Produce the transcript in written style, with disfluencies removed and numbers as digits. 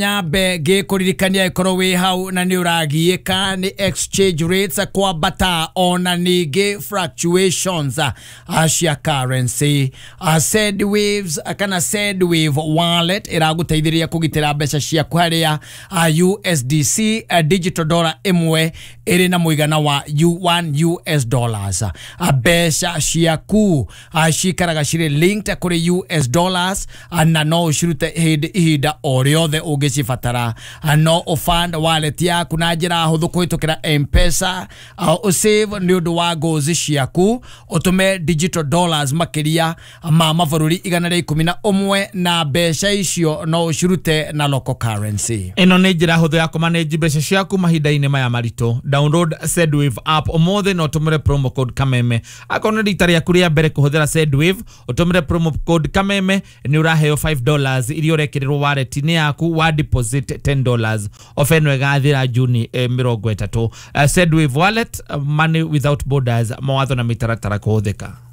Nyambe ngĩkũririkania ĩkorwo wĩ hau na nĩ ũragiĩka nĩ exchange rates kwambata ona ningĩ fluctuations cia currency. Sendwaves kana Sendwave wallet ĩragũteithĩrĩria kũgitĩra mbeca ciaku harĩa USDC, digital dollar ĩmwe ĩrĩ na mũigana wa 1 US dollars. Mbeca ciaku cikaraga cirĩ linked kũrĩ US dollars, na no ũcirute hĩndĩ ihinda o rĩothe ũngĩcibatara. No ũfund wallet yaku na njĩra hũthũ kũhĩtũkĩra M-Pesa, ũsave nĩ ũndũ wa goals ciaku, ũtũme digital dollars makĩria ma mabũrũri 111, na mbeca icio no ũcirute na local currency. Ĩno nĩ njĩra hũthũ ya kũmanage mbeca ciaku mahinda-inĩ maya maritũ. Download Sendwave app ũmũthĩ na ũtũmĩre promo code Kameme. Akorwo nĩ rita rĩaku rĩa mbere kũhũthĩra Sendwave, ũtũmĩre promo code Kameme nĩ ũraheo $5 iria ũrekĩrĩrwo wallet-inĩ yaku wa deposit $10. Ofa ĩno ĩgathira Juni 30. Sendwave wallet, money without borders. Mawatho na mĩtaratara kũhũthĩka.